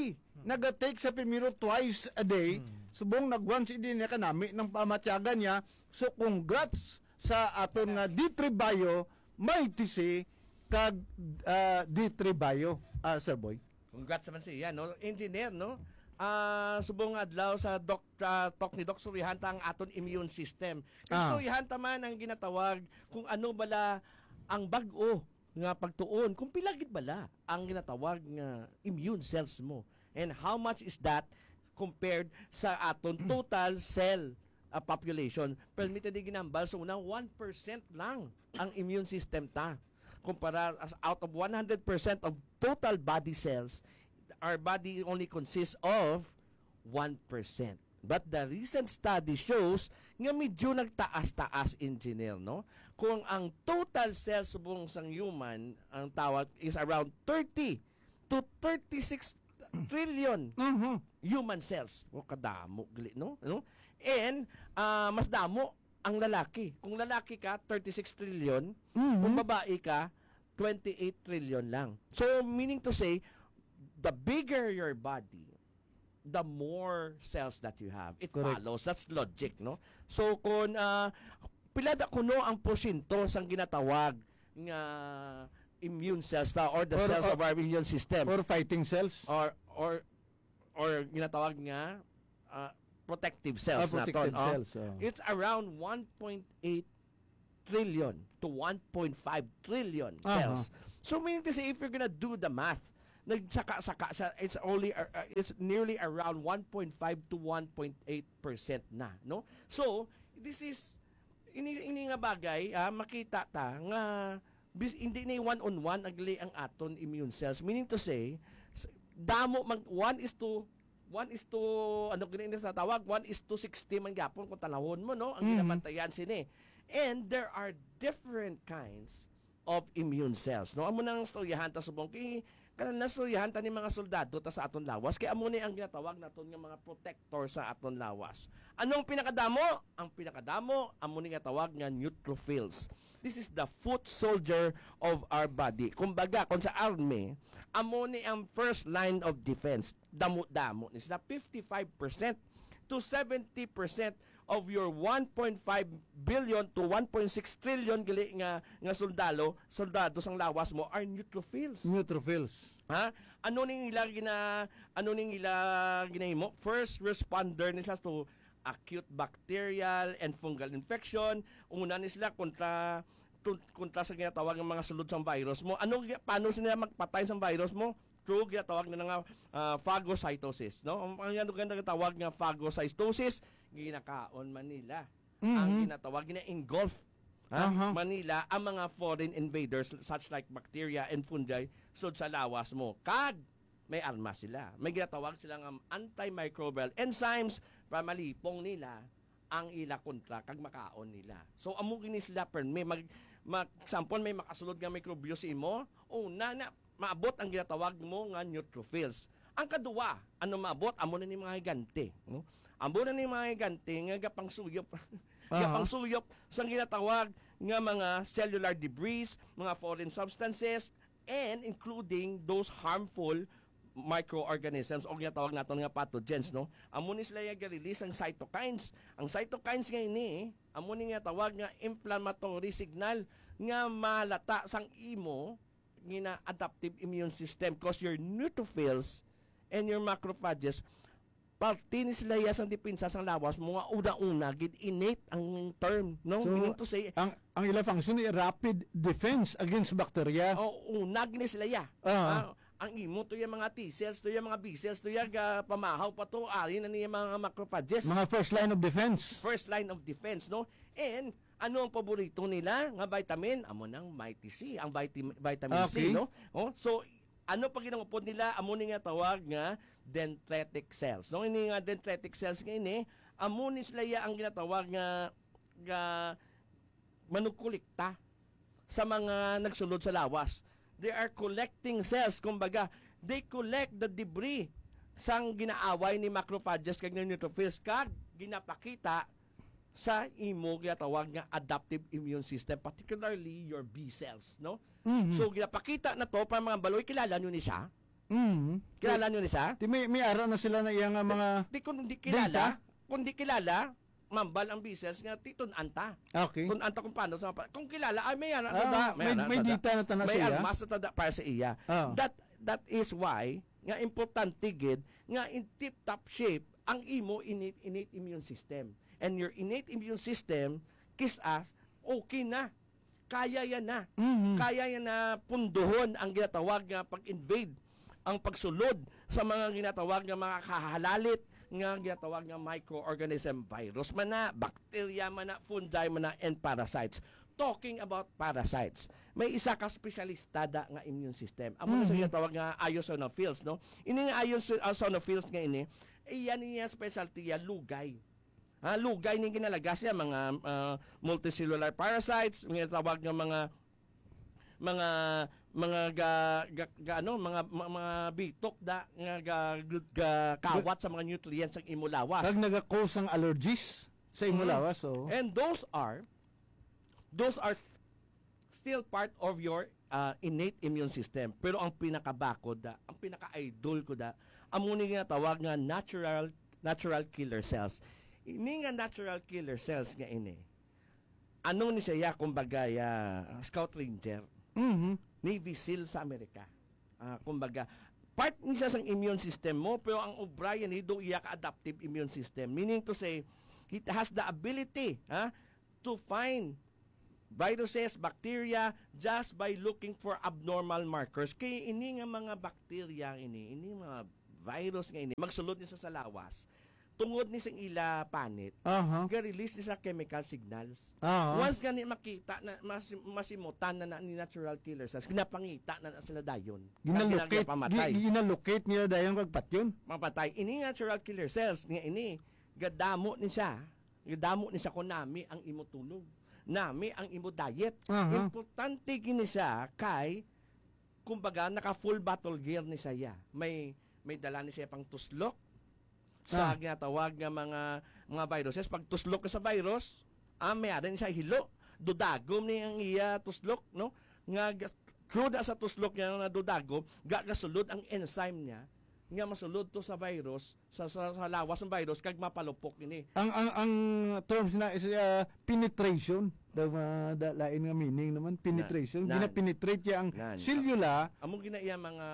naga-take sa primero twice a day. Mm. Subong nag-once a day niya kanami ng pamatyagan niya. So congrats sa aton nga D three Bio, Mighty C, kag ah, D three Bio, ah, Sir Boy. Congrats naman siya, no? Engineer, no? Ah, subong adlaw sa doc, ah, talk ni Doc, surihan ta ang aton immune system. Kay Ah. Surihan ta man ang ginatawag kung ano bala ang bag-o nga pagtuon, kung pila gid bala ang ginatawag nga immune cells mo, and how much is that compared sa aton total cell, ah, population. Permi ta di ginambal sa una, one percent lang ang immune system ta. Kumpara as out of one hundred percent of total body cells, our body only consists of one percent. But the recent study shows nga medyo nagtaas-taas, engineer, no? Kung ang total cells subong sang human, ang tawag is around thirty to thirty-six trillion Mhm. human cells. O, kadamo gali, no? No? And ah, mas damo ang lalaki. Kung lalaki ka, thirty-six trillion. Mhm. Kung babae ka, twenty-eight trillion lang. So, meaning to say, the bigger your body, the more cells that you have. It Correct. follows. That's logic, no? So, kung ah, pila da kuno ang porsyento sang ginatawag nga immune cells ta or the Or- cells or- of our immune system? Or fighting cells. Or or or ginatawag nga ah, protective cells Ah, protective naton, oh. cells, oh. It's around one point eight trillion to one point five trillion Aha. cells. So meaning to say, if you're gonna do the math, nagsaka-saka siya, it's only uh, uh, it's nearly around one point five to one point eight percent na, no? So, this is ini ini nga bagay, ah, makita ta nga bis, hindi ni one on one agli ang aton immune cells. Meaning to say, s- damo mag one is to one is to ano gani sa tawag, one is to sixty man gyapon kung tanawon mo, no, ang Mhm. ginamatayan sini. And there are different kinds of immune cells, no? Amo nang istoryahan ta subong kay kanang nastoryahan ta ni mga soldado ta sa aton lawas, kay amo ni ang ginatawag naton nga mga protector sa aton lawas. Anong pinakadamo? Ang pinakadamo amo ni nga tawag nga neutrophils. This is the foot soldier of our body. Kumbaga, kung sa army, amo ni ang first line of defense. Damo-damo ni sila, fifty-five percent to seventy percent of your one point five billion to one point six trillion gali nga nga soldado, soldado sang lawas mo are neutrophils. Neutrophils. Ha? Ano ning ila gina ano ning ila ginahimo? First responder ni sila to acute bacterial and fungal infection. Una ni sila kontra tun- kontra sa ginatawag nga mga sulod sang virus mo. Ano gi- paano sila magpatay sang virus mo? Through ginatawag na nga ah, phagocytosis, no? Ang ang ano ginatawag nga phagocytosis, ginakaon man nila ang Mhm. ginatawag, gina-engulf ha? Aha. Manila ang mga foreign invaders such like bacteria and fungi sud sa lawas mo. Kag may armas sila. May ginatawag sila nga antimicrobial enzymes para malipong nila ang ila kontra kag makaon nila. So amo gini sila permi mag, mag example, may makasulod nga mikrobyo sa imo, una na maabot ang ginatawag mo nga neutrophils. Ang kaduwa, ano maabot, amo na ni mga higante, no? Amo na ni mga higante nga gapangsuyop, Aha. gapangsuyop sa ginatawag nga mga cellular debris, mga foreign substances, and including those harmful microorganisms o ginatawag naton nga pathogens, no? Amo ni sila yung release ang cytokines. Ang cytokines nga ini, amo ni nga tawag nga inflammatory signal nga malata sang imo nga adaptive immune system, cause your neutrophils and your macrophages, parte ni sila iya sang depensa sang lawas mo nga una-una gid, innate ang term, no? So, Meaning to say, ang, ang ila function ay rapid defense against bacteria. Oh, unag ni sila iya. Ah. Ah, ang imo to yung mga T cells, to yung mga B cells, to yung, ah, pamahaw pa to, ari na niya mga macrophages. Mga first line of defense. First line of defense, no? And ano ang paborito nila nga vitamin? Amo nang Mighty C, ang vitamin, vitamin C, Okay. no? Oh, so, ano pa ginangupod nila? Amo ni nga tawag nga dendritic cells. No, ini nga dendritic cells nga ini, amo ni sila ya ang ginatawag nga, nga manugkolekta sa mga nagsulod sa lawas. They are collecting cells, kumbaga, they collect the debris sang ginaaway ni macrophages kag ni neutrophils kag ginapakita sa imo ginatawag nga adaptive immune system, particularly your B cells, no? Mhm. So, ginapakita na to para mga baloy, kilala nyo ni siya? Mhm. Kilala nyo ni siya? Ti may, may ara na sila na iya nga mga Di, kung di kilala, data? kung di kilala, mambal ang B cells nga titun-an ta. Okay. Kung anta kung paano sa pa-, kung kilala, ay, may ara na Ah, da, may may, ara may na da. data na ta na May siya. armas na ta da para sa iya. Ah. That, that is why nga importante gid nga in tip-top shape ang imo innate, innate immune system. And your innate immune system, kis-a, okay na. Kaya yan na. Mhm. Kaya yan na punduhon ang ginatawag nga pag-invade, ang pagsulod sa mga ginatawag nga mga kahalalit nga ginatawag nga microorganism, virus man na, bacteria man na, fungi man na, and parasites. Talking about parasites, may isa ka espesyalista da nga immune system. Amo na sa Mhm. ginatawag nga eosinophils, no? Ini nga eosi-, eosinophils nga ini, iya niya specialty ya, lugay. Ha, lugay ni ginalagas niya, mga, ah, multicellular parasites, nga tawag nga mga, mga, mga ga, ga, ga, ano, mga, ma-, mga bitok da, nga ga, ga, kawat sa mga nutrients ang imo lawas. Kag naga-cause ang allergies sa imo Mm. lawas, oh. And those are, those are still part of your, ah, innate immune system. Pero ang pinakabakod da, ang pinaka-idol ko da, amo ni nga tawag nga natural, natural killer cells. Ini nga natural killer cells nga ini, ano ni siya, kumbaga, ya, Scout Ranger, Mhm. Navy SEAL sa Amerika. Ah, kumbaga, part ni siya sang immune system mo, pero ang obra yan, do iya ka adaptive immune system. Meaning to say, it has the ability, ha, to find viruses, bacteria, just by looking for abnormal markers. Kay ini nga mga bacteria ini, ini mga virus nga ini, magsulod ni sa, sa lawas. Tungod ni sing ila panit, Aha. ga-release ni sa chemical signals. Aha. Once gani makita na, mas, masimutan na, na ni natural killer cells, ginapangita na, na sila dayon. Ginalocate, Ang ginagapamatay. gi-, ginalocate nila dayon kag patyon. Mapatay. Ini natural killer cells nga ini, gadamo ni siya. Gadamo ni siya kung nami ang imo tulog. Nami ang imo diet. Aha. Importante gini siya kay, kumbaga, naka full battle gear ni siya. May, may dala ni siya pang tuslok sa Ah. ginatawag nga mga, mga viruses. Pag tuslok ka sa virus, ah, may ada ni siya hilo. Dudagom ni ang iya tuslok, no? Nga ga-, through na sa tuslok niya nga dudagom, ga-, gasulod ang enzyme niya nga masulod to sa virus, sa, sa, sa lawas ng virus, kag mapalupok ini. Ang, ang, ang terms na is, ah, penetration. Daw, ah, da-, lain nga meaning naman. Penetration. Na, na, Gina-penetrate niya ang na, na. selula. Amo gina iya mga,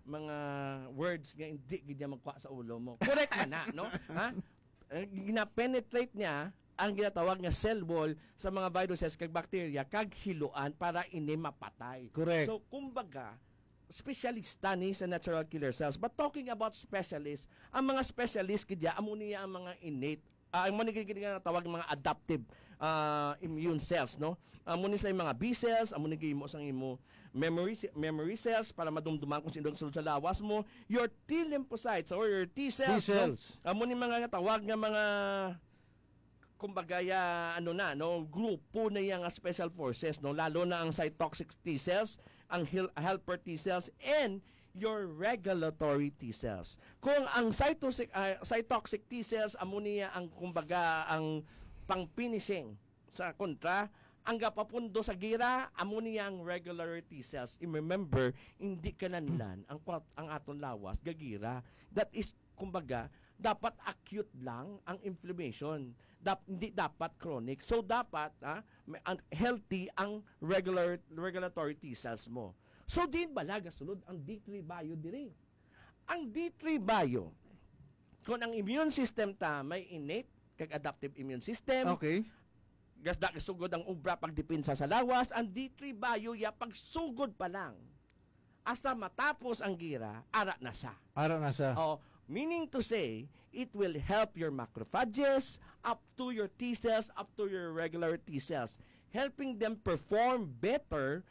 mga words nga hindi gid niya magkuha sa ulo mo. Correct na na, no? Ha? Eh, gina-penetrate niya ang ginatawag nga cell wall sa mga viruses kag bacteria kag hiluan para ini mapatay. Correct. So, kumbaga, espesyalista ni sa natural killer cells. But talking about specialists, ang mga specialist gid ya, amo niya ang mga innate, ah, amo ni gid nga tawag mga adaptive, ah, immune cells, no? Amo ni sila yung mga B cells, amo ni gimo sang imo memory ce-, memory cells para madumduman kung sino ang sulod sa lawas mo, your T lymphocytes or your T cells, T cells. no? Amo ni mga tawag nga mga kumbaga, ya, ano na, no, grupo na yang special forces, no, lalo na ang cytoxic T cells, ang hel-, helper T cells, and your regulatory T cells. Kung ang cytosic-, ah, cytoxic T cells, amo niya ang, kumbaga, ang pang-finishing sa kontra, ang gapapundo sa gira, amo niya ang regulatory T cells. I remember, hindi kinahanglan ang kwat-, ang aton lawas gagira. That is, kumbaga, dapat acute lang ang inflammation. Dap-, hindi dapat chronic. So, dapat, ah, may, ang, healthy ang regular, regulatory T cells mo. So, diin bala gasulod ang D three bio diri? Ang D three bio, kung ang immune system ta may innate kag adaptive immune system, Okay. gas-, da-, sugod ang obra pagdepensa sa lawas, ang D three bio ya pagsugod pa lang. Hasta matapos ang gira, ara na sa. Ara na sa. Oh, meaning to say, it will help your macrophages, up to your T cells, up to your regular T cells, helping them perform better.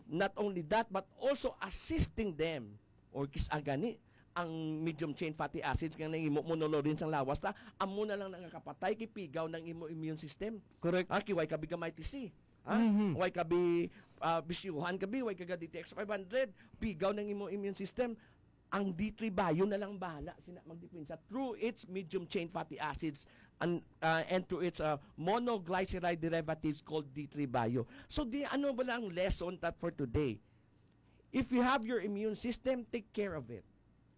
Not only that, but also assisting them. Or kis-a gani, ang medium chain fatty acids nga nahimo mo nulurin sang lawas ta, amo na lang nakakapatay kay pigaw ng imo immune system. Correct. Ah, kiway ka bigamay tisi. Ha? Mhm. Way ka bi, ah, bisyuhan ka bi, way ka ga D T X five hundred, pigaw ng imo immune system. Ang D three bio na lang bahala sina magdepensa through its medium chain fatty acids and, ah, and through its, ah, monoglyceride derivatives called D three bio. So, di, ano ba lang ang lesson that for today? If you have your immune system, take care of it.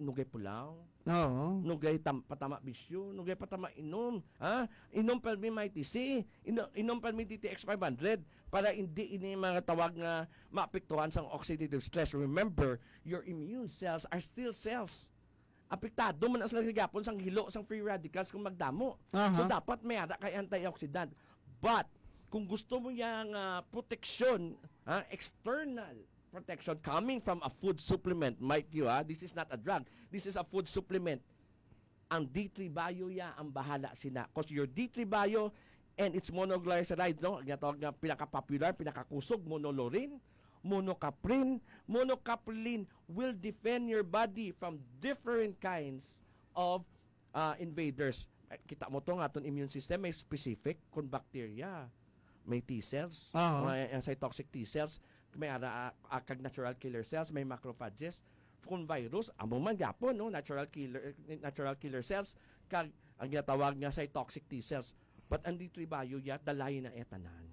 Nugay pulaw. Oo. Nugay tam-, patama bisyo, nugay patama inom. Ha? Inom pa mi may tisi, ino-, inom pa mi D T X five hundred para hindi ini mga tawag nga maapektuhan sang oxidative stress. Remember, your immune cells are still cells. Apektado man na sila gihapon sang hilo sang free radicals kung magdamo. Aha. So, dapat may ara kay antioxidant. But, kung gusto mo yang, ah, proteksyon, ha, external protection coming from a food supplement, mind you, ha, this is not a drug. This is a food supplement. Ang D three Bio ya ang bahala sina. 'Cause your D three Bio and its monoglyceride, no, ang ginatawag nga pinaka-popular, pinakakusog, monolaurin, monocaprin, monocaprilin will defend your body from different kinds of, ah, invaders. Eh, kita mo to nga aton immune system, may specific, kung bacteria, may T cells, Aha. may, ang cytoxic T cells, may ara, ah, ah, kag natural killer cells, may macrophages. Kung virus, amo man gyapon, no, natural killer, natural killer cells, kag ang ginatawag nga cytoxic T cells. But ang D three Bio ya, dalay na iya tanan.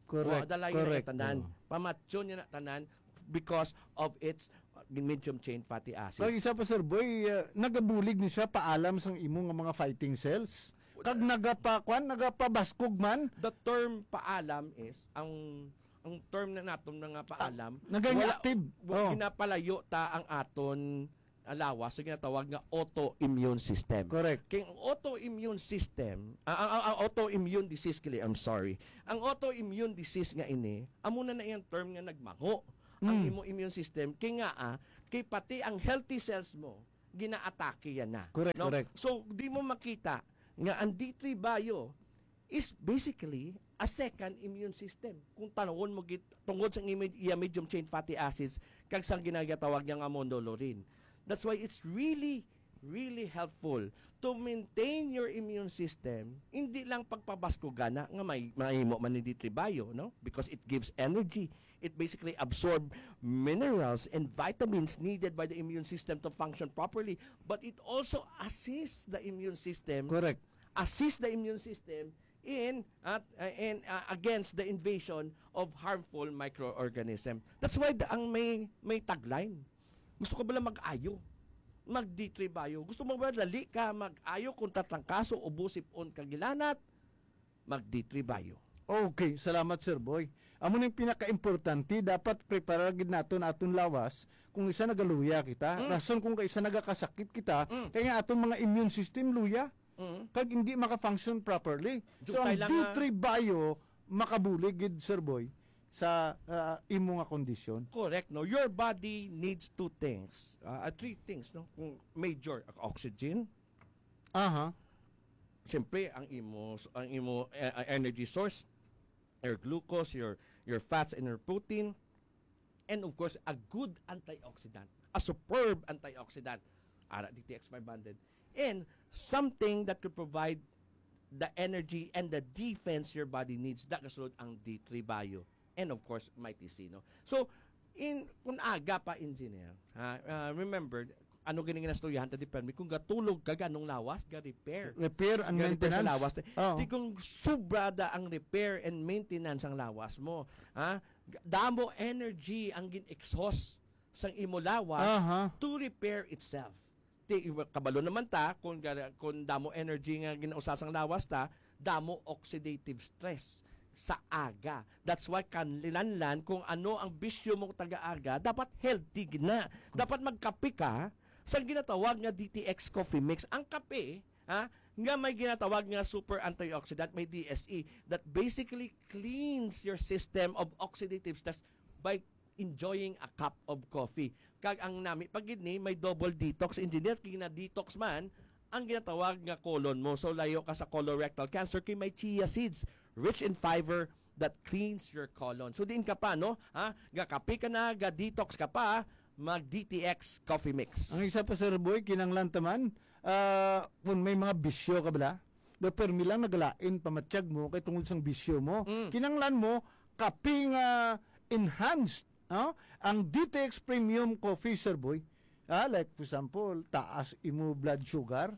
Correct, Wa, dalay na correct. iya tanan. Oo. Pamatyon niya na tanan because of its, uh, medium chain fatty acids. Kag isa pa, Sir Boy, uh, nagabulig ni siya paalam sang imo nga mga fighting cells. Kag nagapa-, kwan, nagapabaskog man. The term paalam is, ang, ang term na naton nga paalam, Ah, naging wala, active. wa-, Oh. ginapalayo ta ang aton, ah, lawas sa ginatawag nga autoimmune system. Correct. Kay ang autoimmune system, ah, ang, ang, ang autoimmune disease, kili, I'm sorry. Ang autoimmune disease nga ini, amo na na iyang term nga nagmango ang Mm. imo immune system. Kay nga, ah, kay pati ang healthy cells mo, ginaatake yan na. Correct, No? correct. So, di mo makita nga ang D three Bio is basically a second immune system. Kung tanawon mo gid, tungod sa imi-, iya medium chain fatty acids, kag sang ginagatawag niya nga monolaurin. That's why it's really, really helpful to maintain your immune system. Hindi lang pagpabaskugan na nga may, mahimo man ni D three Bio, no? Because it gives energy. It basically absorb minerals and vitamins needed by the immune system to function properly. But it also assists the immune system, Correct. assist the immune system in, at, uh, in, uh, against the invasion of harmful microorganism. That's why the, ang may, may tagline. Gusto ka bala mag-ayo? Mag D three Bio. Gusto mo ba dali ka mag-ayo kung tatrangkaso, ubo, sipon, kag hilanat? Mag D three Bio. Okay, salamat, Sir Boy. Amo na yung pinaka-importante, dapat prepara gid naton aton lawas kung isa nagaluya kita. Mm. Rason kung kaisa nagakasakit kita, Mm. kaya nga aton mga immune system luya. Mm. Kag hindi maka-function properly. So, Jutay ang lang, ah. D three Bio makabulig gid, Sir Boy, sa, ah, imo nga kondisyon. Correct, no? Your body needs two things, ah, ah, three things, no? Kung major, oxygen, Aha. Siyempre, ang imo, ang imo, eh, ah, energy source, your glucose, your, your fats, and your protein, and of course, a good antioxidant, a superb antioxidant, ara D T X five hundred, and something that could provide the energy and the defense your body needs, da kasulod ang D three Bio, and of course, Mighty C, no? So, In, kung aga pa, engineer, ha, ah, remember, ano gini nga nastoryahan ta di permi, kung gatulog ka, ganong lawas, ga-repair. Repair and Ga-repair sa maintenance. lawas. Oo. Di kung sobra da ang repair and maintenance ang lawas mo, ha? Damo energy ang gin-exhaust sang imo lawas Aha. to repair itself. Ti, kabalo naman ta, kung, ga- kung damo energy nga ginausa sang lawas ta, damo oxidative stress sa aga. That's why kinahanglan kung ano ang bisyo mo taga aga, dapat healthy gina. Dapat magkape ka sa ginatawag nga D T X Coffee Mix. Ang kape, ha, nga may ginatawag nga super antioxidant, may D S E, that basically cleans your system of oxidative stress by enjoying a cup of coffee. Kag ang nami pa gid ni may double detox, engineer, gina-detox man ang ginatawag nga colon mo. So layo ka sa colorectal cancer kay may chia seeds rich in fiber that cleans your colon. So diin ka pa, no? Ha? Gakape ka na, ga-detox ka pa, mag D T X coffee mix. Ang isa pa, Sir Boy, kinanglan taman, ah, kung may mga bisyo ka bala, do permi lang nagalain pamatyag mo kay tungod sang bisyo mo. Mm. Kinanglan mo kape nga enhanced, no? Ang D T X Premium Coffee, Sir Boy. Ah, like for example, taas imo blood sugar.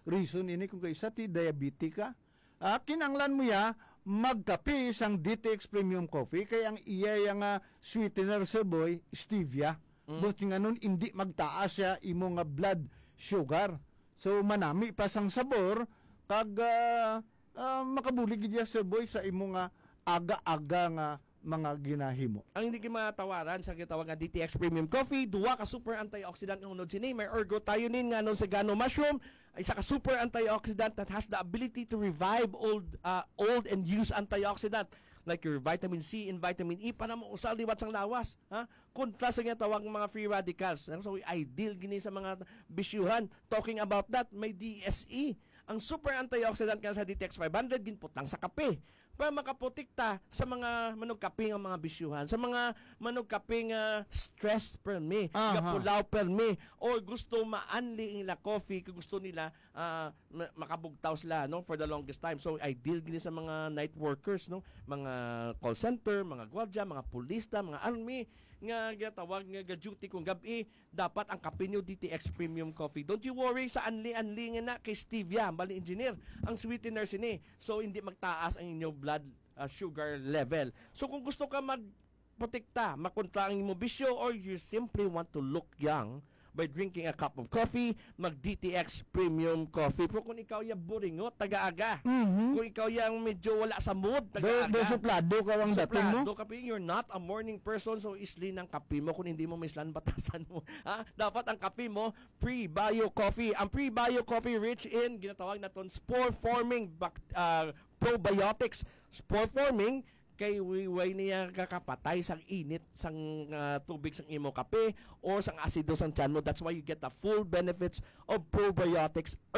Reason ini kung kaisa ti diabetic ka. Ah, kinanglan mo ya magkape sang D T X Premium Coffee kay ang iya ya nga sweetener, Sir Boy, stevia. Mm. Buot nga nun, hindi magtaas siya imo nga blood sugar. So manami pa sang sabor kag ah, ah, makabulig gid ya, Sir Boy, sa imo nga aga-aga nga mga ginahimo. Ang hindi matawaran sa gitawag nga D T X Premium Coffee, duwa ka super antioxidant nga unod sini, may ergothioneine nga nonzegano mushroom, isa ka super antioxidant that has the ability to revive old uh, old and used antioxidant like your vitamin C and vitamin E para mausal liwat sang lawas, ha? Kontra sa ginatawag nga mga free radicals. So ideal gini sa mga bisyuhan. Talking about that, may D S E. Ang super antioxidant nga sa D T X five hundred ginputang sa kape para makaprotekta sa mga manugkape nga mga bisyuhan, sa mga manugkape nga stress permi, Aha. gapulaw permi, or gusto maanli ang ila coffee, kung gusto nila ah, ma- makabugtaw sila, no, for the longest time. So ideal gini sa mga night workers, no, mga call center, mga gwardya, mga pulista, mga army nga ginatawag nga ga-duty kung gabi, dapat ang kape nyo D T X Premium Coffee. Don't you worry sa anli-anli nga na kay stevia, bali engineer, ang sweetener sini. So hindi magtaas ang inyo blood ah, sugar level. So kung gusto ka magprotekta, makontra ang imo bisyo, or you simply want to look young by drinking a cup of coffee, mag D T X Premium Coffee. Pero kung ikaw ya buringot, taga-aga. Mhm. Kung ikaw yang medyo wala sa mood, Do, taga-aga. do suplado ka ang dating mo? Suplado ka, pero you're not a morning person, so isli ng kape mo kung hindi mo mislan batasan mo. Ha? Dapat ang kape mo, Prebio Coffee. Ang Prebio Coffee rich in, ginatawag naton spore-forming bac- ah, probiotics. Spore-forming, kay way, way niya kakapatay sang init sang ah, tubig sang imo kape or sang asido sang tiyan mo. That's why you get the full benefits of probiotics